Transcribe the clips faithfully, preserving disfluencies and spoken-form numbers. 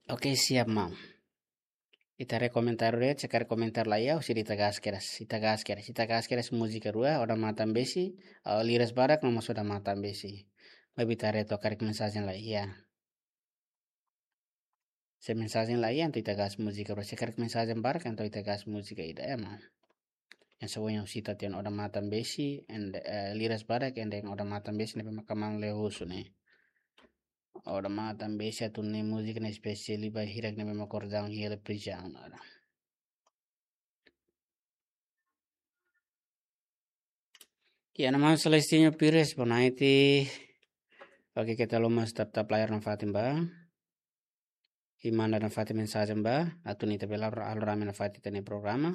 Oke, siap, maun. Ita haree komentar de'it, se karik komentar la iha, husi ita gas keras, ita gas keras, ita gas keras múzika rua, Odamatan Besi, ah, liras badak, no mós Odamatan Besi. Maibé ita haree to'ok karik mensajen la iha. Se mensajen la iha, entaun ita gas múzika rua. Se karik mensajen barak, entaun ita gas múzika ida, ema. Yang sebenarnya husi ita-nia Odamatan Besi, and, eh, liras badak, and then Odamatan Besi ne'ebé maka maun lee husu ne'e. Odamatan Besi atu nune'e múzika ne'e espesiál ba hirak ne'ebé maka kordang hela prizaun laran. Ya, nama Celestino Pires, bonaiti. Oke, keta haluha tap-tap layar nafatin bá. I manda nafatin mensajen bá, atu nune'e ita bele halo rame nafatin ita-nia programa.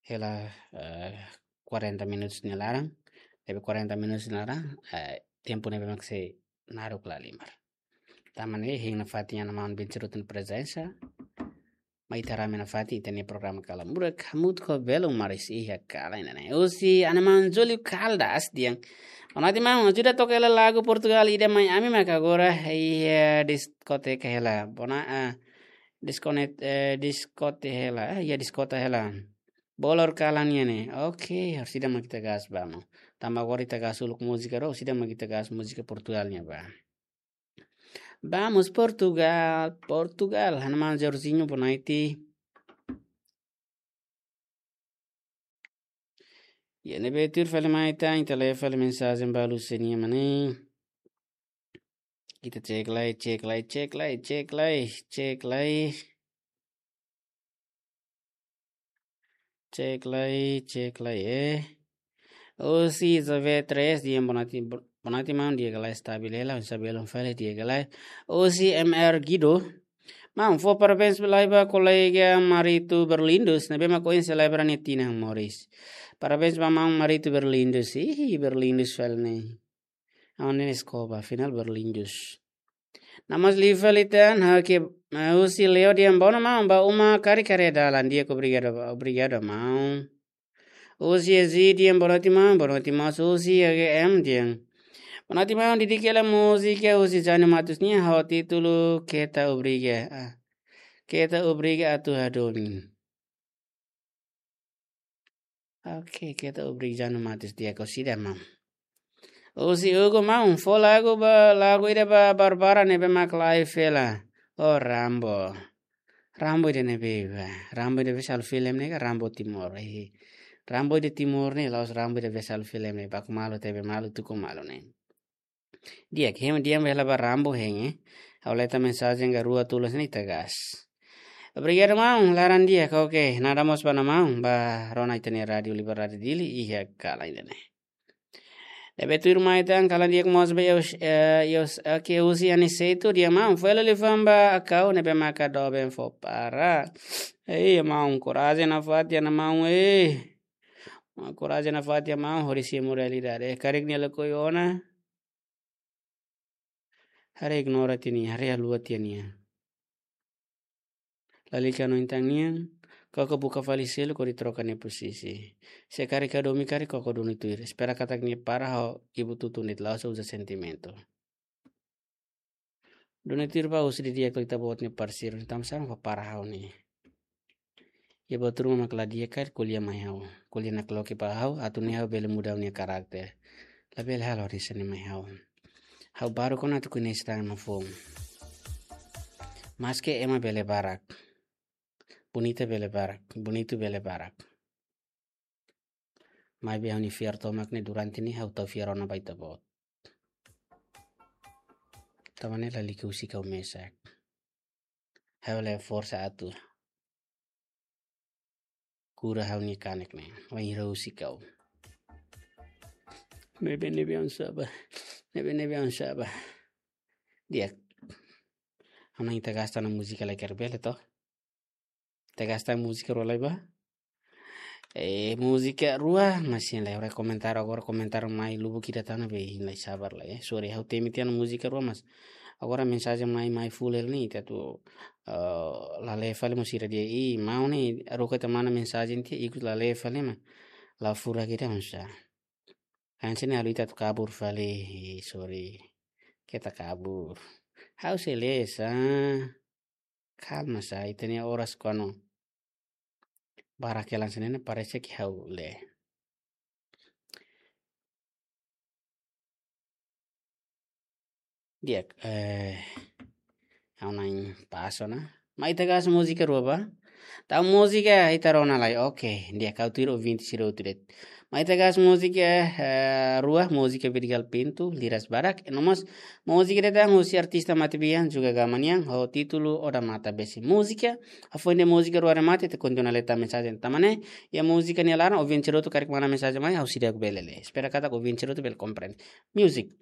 Hela, eh, quarenta minutos nia laran. Ne'ebé quarenta minutos nia laran, eh, tempu ne'ebé mak sei naruk la halimar. Tanba ne'e, hein nafatin iha maun Bensiruto nia prezensa. Mai ita rame nafatin ita-nia programa Kalan Murak, hamutuk ho belun maris iha kalan ida-ne'e. Husi Ana Maun Júlio Caldas dehan: Bonaiti maun, ajuda toka hela lagu Portugal ida mai ami maka agora iha diskoteka hela. Bona, ah, diskonet-, eh, diskote hela, eh, iha diskota hela. Bolor kalan nian ne'e. Oke, orsida mak ita gas bá, maun. Tanba agora ita gas uluk múzika rua, orsida mak ita gas múzika Portugal nian bá. Vamos Portugal, Portugal. Ana Maun Jorginho, bonaiti. Ya, ne'ebé tuir fali mai tan, ita lee fali mensajen balu sira-nia mana. Ita cek lai, cek lai, cek lai, cek lai, cek lai. Cek lai, cek lai, eh. Husi Zove tres dehan bonaiti, bonaiti maun, di'ak ka lae, estabil hela, husi belun fali, di'ak ka lae. Husi M R Guido: Maun, fó parabéns lai ba kolega Marito Berlindus, ne'ebé mak ohin selebra nia tinan moris. Parabéns ba maun Marito Berlindus. Ih, Berlindus fali ne'e. Aun ne'e Escobar, afinál Berlindus. Nama Sliva litan, ha'u ke, eh, husi Leo dehan: Bonaiti maun, ba uma karik haree dalan. Di'ak, obrigadu, obrigadu maun. Husi Ezi dehan: Bonaiti maun, bonaiti maun. Husi H G M dehan: Bonaiti maun, didik hela múzika husi Jânio Matos nian ho títulu Keta Obriga. Ah, Keta Obriga atu hadomi. Oke, Keta Obriga, Jânio Matos, di'ak, orsida maun. Husi Hugo: Maun, fó lagu ba, lagu ida ba Barbara ne'ebé mak live hela. Oh, Rambo. Rambo ida ne'ebé bá. Rambo ida be sal film ne'e ka Rambo Timor. Eh, Rambo ida Timor ne'e, la'ós Rambo ida be sal film ne'e. Baku malu, tebe malu, tuku malu ne'e. Di'ak, hein, di'ak, bele ba Rambo hein, eh. Ha'u leta mensajen ka rua tolu hanesan ne'e ita gas. Obrigadu maun, laran di'ak, oke. Nada mós ba Ana Maun, ba rona ita-nia Rádio Liberdade Dili, iha kalan ida-ne'e. Ne'ebé tuir mai tan, kalan di'ak mós ba Eus-, eh, Eus-, oke, husi Aniceto dehan: Maun, fó hela liafuan ba Akau ne'ebé maka doben fó para. Ei, maun, korajen nafatin, Ana Maun, eh. Maun, korajen nafatin, maun, hodi simu realidade. Eh, karik nia lakohi ona, haree ignora tiha nia, haree haluha tiha nia. Lalika hanoin tan nian, koko buka fali seluk hodi troka nia posisi. Se karik hadomi karik koko duni tuir. Espera katak nia para ho ibu tutun de'it, la'ós uza sentimentu. Duni tuir ba, husu didi'ak ita-boot nia parseiru, entaun sá mak para ha'u ne'e. Iha buat ruma mak la di'ak karik ko'alia mai ha'u. Ko'alia nakloke ba ha'u, atu nune'e ha'u bele muda ha'u-nia karakter. Labele halo hanesan ne'e mai ha'u. Ha'u baruk ona atu koñese tan no foun. Maske ema bele barak, bonita bele barak, bonitu bele barak, maibé ha'u-nia fiar tomak ne'e durante ne'e ha'u tau fiar ona ba ita-boot. Tanba ne'e lalika husik ha'u mesak. Ha'u la iha forsa atu kura ha'u-nia kanek ne'e. Wainhira husik ha'u. Ne'ebé, ne'ebé, oinsá bá. Ne'ebé, ne'ebé, oinsá bá. Di'ak. Ha'u hanoin ita gas tan múzika lai, karik bele to. Ita gas tan múzika rua lai bá. Eh, múzika rua, mas hein lai, agora komentar, agora komentar mai lubuk ida tan ne'ebé hein lai, sabar lai, eh. Sorry, ha'u temi tiha ona múzika rua, mas agora mensajen mai, mai full hela ne'e, ita atu, eh, la lee fali mós sira dehan, ih, maun ne'e, haruka ita manda mensajen tiha, ikus la lee fali, mas la furak ida, oinsá. Hanesan ne'e halo ita atu kabur fali, eh, sorry. Keta kabur. Ha'u sei lee sá. Kalma sa, ita-nia oras kuandu barak hela hanesan ne'e, parese ke ha'u lee. Di'ak, eh, ha'u na'in pas ona. Mai ita gás múzika rua ba. Tau múzika ita rona lai. Oke, di'ak, ha'u tuir ouvinte sira hotu de'it. Mai ita gás múzika, eh, rua, múzika Vidigal Pinto, Liras Barak. E no mós múzika ida tan husi artista matebian, Juga Gama nian, ho títulu Odamatan Besik. Múzika, hafoin de'it múzika rua remata, ita kontinua lee tan mensajen. Tanba ne'e, iha múzika nia laran, ouvinte sira hotu karik manda mensajen mai, ha'u seidauk bele lee. Espera katak ouvinte sira hotu bele komprende. Music.